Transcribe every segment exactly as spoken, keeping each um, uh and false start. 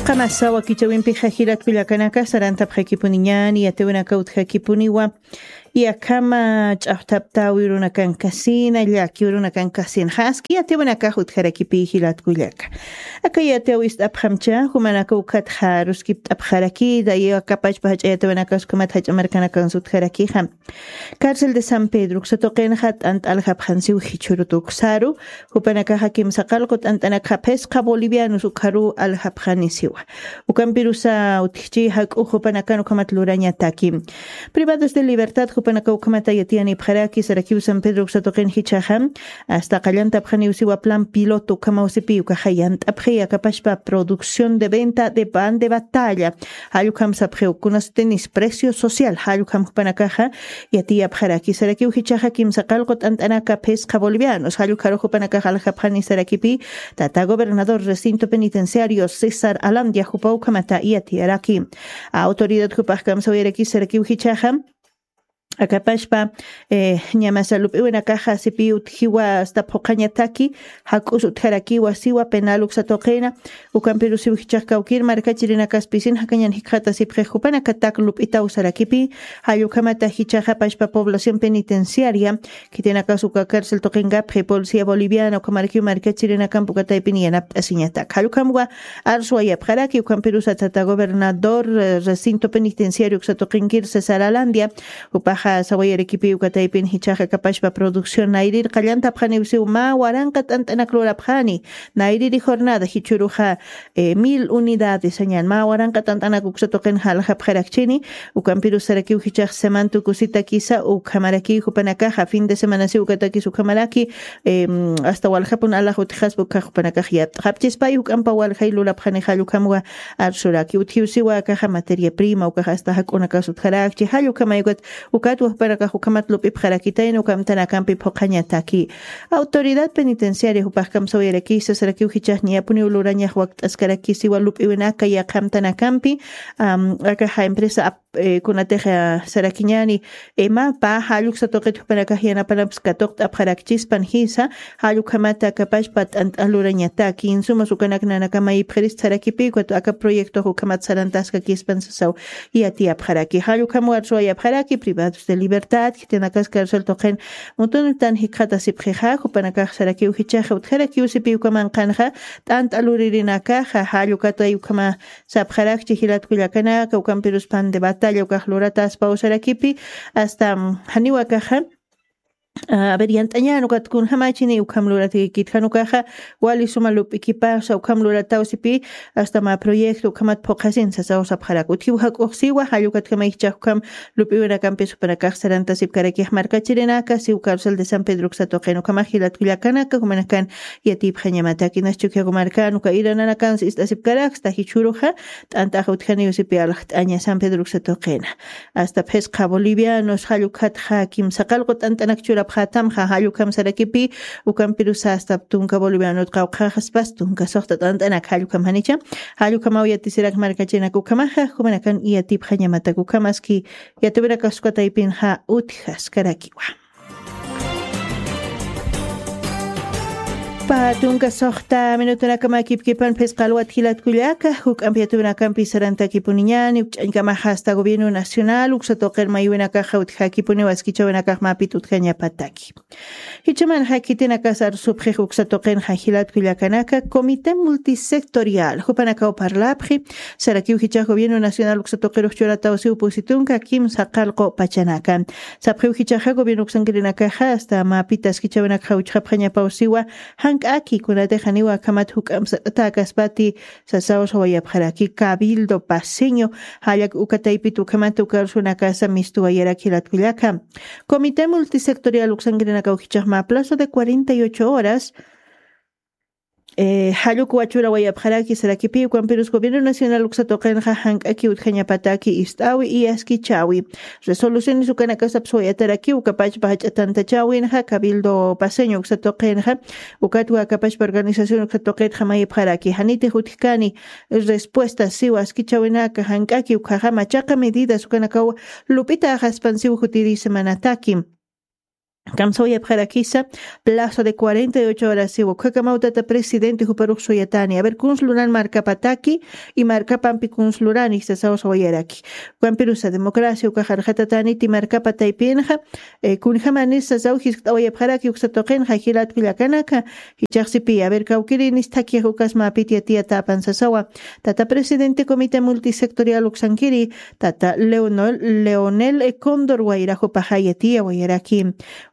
Qamasa wakichawimpixa jilatkullakanaka sarantapxakipuniñani yatiwinaka utjakipuniwa. Yakhama ch'axtaptawi runakankasina llakiw runakankasina jaski yatiwinakax utjarakipi jilatkullaka. Aka yatiw ist'apxamcha jumanaka ukhatxa ruskipt'apxarakida yakapachpa jach'a yatiwinakas ukhamat jach'a markanakansa utjarakixa. Cárcel de San Pedro uksatuqinxa t'ant'a aljapxansiw jichhuru tuksaru. Jupanakaxa kimsa qalqu t'ant'anakxa phisqa bolivianos ukharu aljapxanisiwa. Ukampirusa utjchi jak'u jupanakan ukhamat lurañataki. Privados de libertad jupanaka ukhamata yatiyanipxaraki sarakiw San Pedro uksatuqin jichhaxa. Asta qallantapxaniwsiwa plan piloto ukhamawsipi ukaxa yant'apxi akapashpa producción de venta de pan de batalla. Jallukam sapxiw kunasutinis precio social jallukam jupanakaxa yatiyapxaraki sarakiw jichhaxa kimsa qalqu t'ant'anaka phisqa bolivianos jallukharu jupanakaxa aljapxani sarakipi. Tata gobernador recinto penitenciario César Alandia jupa ukhamata yatiyaraki. Autoridad jupax kamsawayaraki sarakiw jichhaxa akapashpa ñamasa lup'iwinakaxa sipi utjiwa asta phuqhañataki. Jak'us utjarakiwa siwa penal uksatuqina. Ukampirusiw jichhax kawkir markachirinakaspisin jakañan jikxatasipxix jupanakatak lup'itaw sarakipi. Jallukhamata jichhaxapashpa población penitenciaria khitinakas uka cárcel tuqinkapi policía boliviana ukhamarakiw markachirinakampi uka taypin yanapt'asiñatak jallukhamwa. Arsuwayapxaraki ukhampirusa tata gobernador recinto penitenciario uksatuqinkir César Alandia. Jupaxa sawayarakipi uka taypin jichhaxa akapashpa producción nayrir qallantapxaniwsiw mä waranqa t'ant'anak lurapxani. Nayriri jornada jichhuruxa mil unidades añan mä waranqa t'ant'anak uksatuqinxa aljapxarakchini. Ukampirusarakiw jichhax semantu kusitakisa ukhamarakiy jupanakaxa fin de semanasiw ukatakis ukhamaraki. Asta waljapun alax utjaspa ukhax jupanakax yat'xapchispay juk'ampa waljay lurapxani jallukhamwa. Arsuraki utjiwsiwa akaxa materia prima ukax asta jak'unakas utjarakchi jallukhamay ukat. Ukatwa jupanakax ukhamat lup'ipxarakitayna ukamtanakampi phuqhañataki. Autoridad penitenciaria jupax kamsawayaraki sasarakiw jichhax ñapuniw lurañax wakt'askarakisiwa lup'iwinaka yaqhamtanakampi. Akaxa empresa kunatixa sarakiñani. Imapa jalluksa tuqit jupanakax yanapanapis katuqt'apxarakchispan jisa. Jallukhamata akapashpa t'ant'a lurañataki insumas ukanak nanakamayipxirista sarakipi ukat aka proyectox ukhamat sarantaskakispan sasaw. Yatiyapxaraki jallukhamwa arsuwayapxaraki privados de libertad khitinakas cárcel tuqin mutuntan jikxatasipxixa jupanakax sarakiw jichhaxa utjarakiw sipi ukamanqanxa. T'ant'a luririnakaxa jallukatay ukhama sapxarakchi jilatkullakanaka ukampirus pan de batalla ukax lurataspaw sarakipi. Asta janiw akaxa a ver yant'añän ukat kunjamachini ukham luratikikit jan ukaxa wali suma lup'ikipasa ukham luratawsipi. Asta mä proyecto ukhamat phuqhasin sasaw sapxarak utjiw jak'uxsiwa jallukatkamay jichhax ukham lup'iwinakampis jupanakax sarantasipkarakix markachirinaka siw cárcel de San Pedro uksatuqin ukhamax jilatkullakanaka jumanakan. Yatipxañamataki nas chukyaku markan uka irananakansa ist'asipkaraksta jichhuruxa. T'ant'ax utjaniw sipi aljt'aña San Pedro uksatuqina. Asta phisqa bolivianos jallukhatxa kimsa qalqu t'ant'anak churapxatamxa jallukhamsarakipi. Ukampirusa asta tunka bolivianot qawqhaxaspas tunka suxta t'ant'anak jallukhamjanicha. Jallukamaw yatisirak markachinak ukhamaxa jumanakan yatipxañamatak ukhamaski. Yatiwinakaskataypinxa utjaskarakiwa. Patunka suxta minutunakama kipkipan phisqalwat jilatkullaka juk'ampi yatiwinakampi sarantakipuniñani ukch'añkamaxa asta gobierno nacional uksatuqir maywinakaxa utjakipuniw askichawinakax mapit utjañapataki. Jichhamanxa khitinakas arsupxix uksatuqinxa jilatkullakanaka comité multisectorial jupanakaw parlapxi. Sarakiw jichhax gobierno nacional uksatuqirux churatawsiw pusitunka kimsa qalqu pachanaka. Sapxiw jichhaxa gobierno uksankirinakaxa asta mapita askichawinakxa uchxapxañapawsiwa. Jank'aki kunatixaniwa akhamat juk'amsa t'atakaspati. Sasaw sawayapxaraki cabildo paseño. Jallak uka taypit ukhamat uka arsunakasa mistuwayarak jilatkullaka. Comité multisectorial uksankirinakaw jichhax mä plazo de cuarenta y ocho horas. Jalluk wachurawayapxaraki sarakipi ukampirus gobierno nacional uksatuqinxa jank'aki utjañapataki ist'awi y askichawi. Resoluciones ukanakasapswayatarakiw ukapachpa jach'a tantachawinxa cabildo paseño uksatuqinxa. Ukatwa akapachpa organización uksatuqitxa mayipxaraki janitix utjkani. Respuesta siw askichawinaka jank'aki ukhaxa machaqa medidas ukanakaw lup'itaxaspan siw jutiri semanataki. Kamsawayapxarakisa, plazo de cuarenta y ocho horas siwa. Ukhakamawtata presidente juparux suyatani. A ver, kuns luran markapataki y markapampi kuns lurani, sasaw sawayaraki. Ukampirusa democracia ukax arxatataniti markapa taypinxa, eh, kunjamanis sasaw jiskt'awayapxaraki uksa tuqinxa jilat kullakanaka, jichaxsipi, a ver, kawkirinis thakix ukas mapiti yatiyatäpan sasawa. Tata presidente comité multisectorial uksankiri, tata Leonel, Leonel, eh, Cóndor wayraxupaxa yatiyawayaraki.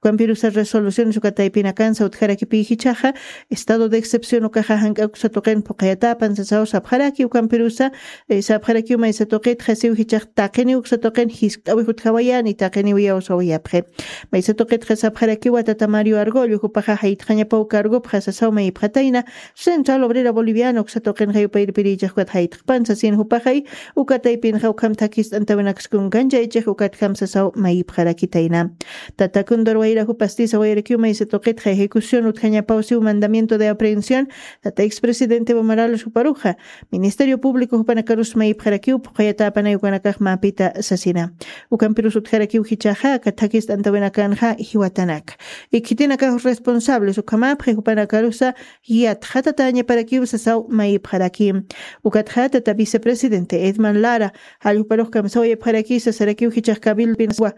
Ukampirusa resoluciones uka taypinakansa utjarakipï jichhaxa, estado de excepción ukaxa jank'ak uksa tuqin phuqhayatäpan sasaw sapxaraki, ukampirusa, eh, sapxarakiw maysa tuqitxa siw jichhax taqiniw uksa tuqin jiskt'awix utjawayani, taqiniw iyawsawayapxi. Maysa tuqitxa sapxarakiwa tata Mario Argollo, jupaxa jayt'xañapaw cargopxa sasaw mayipxatayna, Central Obrera Boliviana uksa tuqinxa yupayirpirichix ukat jayt'xpan sasin jupaxay, uka taypinxa ukham thakist'antawinaksa kunkanchaychix ukatjam sasaw mayipxarakitayna. Tata Cóndor wayra jupasti sawayarakiw maysa tuqitxa ejecución utjañapaw siw mandamiento de aprehensión, tata expresidente Evo Morales juparuxa, Ministerio Público jupanakarus mayipxarakiw phuqhayatäpanay ukanakax mapita sasina. Ukampirus utjarakiw jichhaxa, aka thakist'antawinakanxa jiwatanaka. Khitinakax responsables ukhamapxi jupanakarusa yatxatatañaparakiw sasaw mayipxaraki. Ukatxa tata vicepresidente Edman Lara, jall juparux kamsawayapxaraki sasarakiw jichhax cabildo pinawa,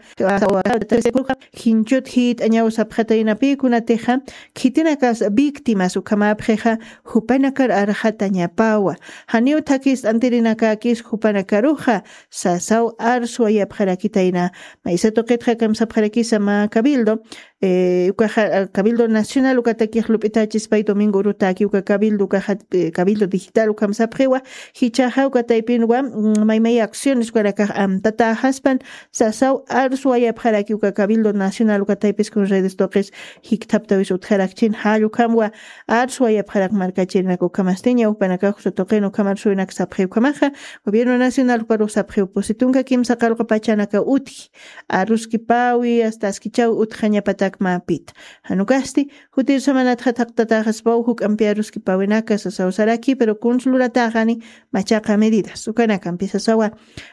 jinchut jit'añaw sapxataynapi kunatixa, khitinakas víctimas ukhamapxixa, jupanakar arxatañapawa. Janiw thakist'antirinakakis jupanakaruxa, sasaw arsuwayapxarakitayna. Maysa tuqitxa kamsapxarakisa mä cabildo, eh, ukaxa, ah, Cabildo Nacional ukatakix lup'itachispay Domingo Urutaki, uka cabildo ukaxa, eh, cabildo digital ukham sapxiwa, jichhaxa uka taypinwa, mm, maymay acciones ukanakax amtatäxaspan, sasaw arsuwayapxaraki uka Cabildo Nacional uka taypis kun redes tuqis jikthaptawis utjarakchin, jall ukhamwa arsuwayapxarak markachirinak ukhamastiña, jupanakax uksa tuqin ukham arsuwinak sapxi ukhamaxa, Gobierno Nacional juparux sapxiw pusi tunka kimsa qallqu pachanaka utji, aruskipawi, hasta askichaw utjañapatak mapita. Jan ukasti, jutir samanatxa thaqtatäxaspaw juk'ampi aruskipawinaka sasaw saraki, pero kuns luratäxani machaqa medidas ukanakampi sasawa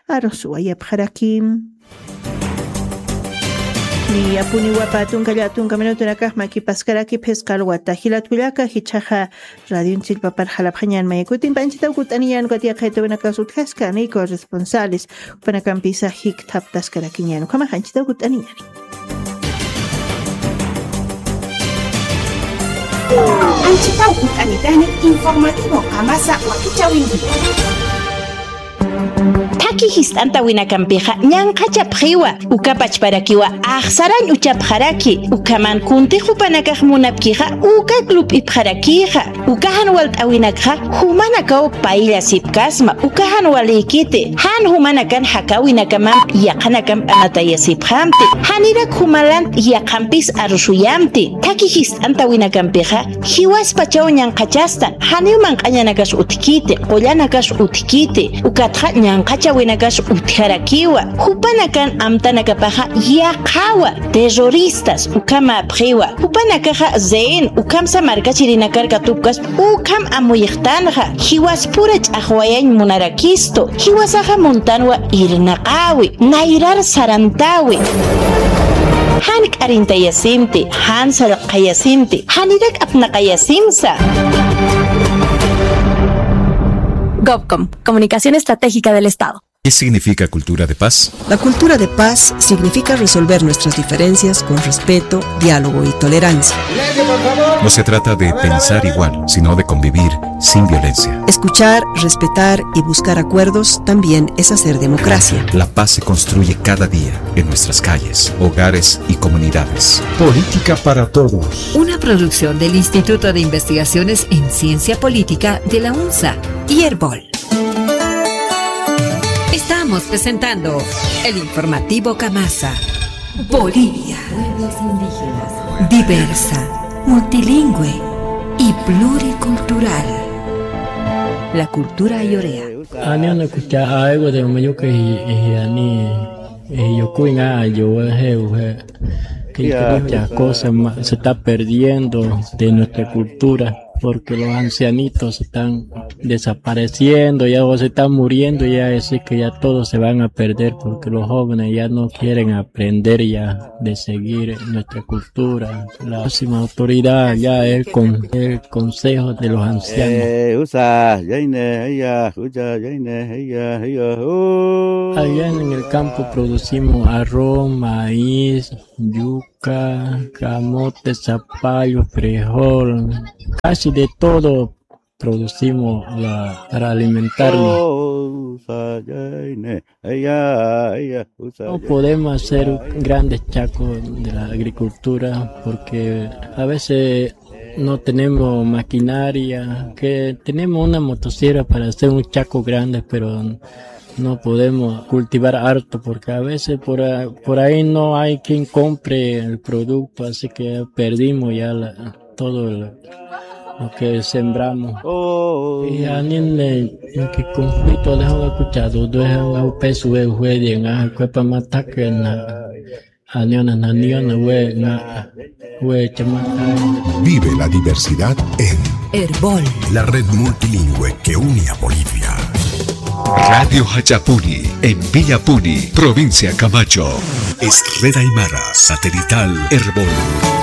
arsuwayapxaraki. Niyapuniwa pä tunka llätunka minutunakax makipaskaraki phisqa alwata. Jilat kullaka, jichhaxa radionchillpapar jalapxañän mayakutimpi, anchhitaw kutt'aniñän ukat yaqha yatawinakas utjaskani corresponsales, jupanakampisa jikthaptaskarakiñän. Ukhamax anchhitaw kutt'aniñäni. Anchhitaw kutt'anitani informativo Qamasa wakichäwinki. Thakhi jiskt'antawinakampixa ñanqhachapxiwa, uka pachparakiwa axsarañ uchapxaraki, ukhaman kuntix jupanakax munapkixa, ukak lup'ipxarakixa. Uka jan walt'äwinakxa jumanakaw payllasipkasma, uka jan walïkiti, jan jumanakan jakäwinakamamp yaqhanakamp anatayasipxamti, janirak jumalant yaqhampis arsuyamti. Thakhi jiskt'antawinakampixa jiwaspachaw ñanqhachastan, janiw manq'añanakas utjkiti, qullanakas utjkiti, ukatxa ñanqhachäwinakas utjarakiwa. Jupanakan amtanakapaxa yaqhawa, terroristas ukhamäpxiwa. Jupanakaxa rehén ukhamsa markachirinakar katupkaspa, ukham amuyxtanxa, jiwaspura ch'axwayañ munarakistu, jiwasaxa muntanwa irnaqäwi, nayrar sarantäwi. Jan k'arintayasimti, jan sallqayasimti, janirak apnaqayasimsa. Gobcom, Comunicación Estratégica del Estado. ¿Qué significa cultura de paz? La cultura de paz significa resolver nuestras diferencias con respeto, diálogo y tolerancia. No se trata de pensar igual, sino de convivir sin violencia. Escuchar, respetar y buscar acuerdos también es hacer democracia. La paz se construye cada día en nuestras calles, hogares y comunidades. Política para todos. Una producción del Instituto de Investigaciones en Ciencia Política de la UNSA y Erbol. Estamos presentando el informativo Kamasa. Bolivia. Pueblos indígenas. Diversa, multilingüe y pluricultural. La cultura ayorea. Ani una kucha aiwa de mayuka y, y ani, y yo kuinga yo he, he, que muchas cosas ma- se está perdiendo de nuestra cultura. porque los ancianitos están desapareciendo, ya o se están muriendo, ya es que ya todos se van a perder, porque los jóvenes ya no quieren aprender ya de seguir nuestra cultura. La máxima autoridad ya es con el consejo de los ancianos. Eh, usa, yaine, ella, usa, yaine, ella, ella, uh. Allá en el campo producimos arroz, maíz, yuca, camote, zapallo, frijol, casi de todo producimos la, para alimentarnos. Oh, usa, yaine, ella, ella, usa, no podemos hacer grandes chacos de la agricultura porque a veces no tenemos maquinaria, que tenemos una motosierra para hacer un chaco grande, pero no podemos cultivar harto porque a veces por, a- por ahí no hay quien compre el producto, así que perdimos ya la- todo el- lo que sembramos. Oh. Y anime que conflicto de escuchado, de un peso de juegue, en cuerpo mataque, Aniona, aniona, we, na, we, chamata. Vive la diversidad en Erbol, la red multilingüe que une a Bolivia. Radio Hachapuni, en Villapuni, provincia Camacho. Es red aymara satelital Erbol.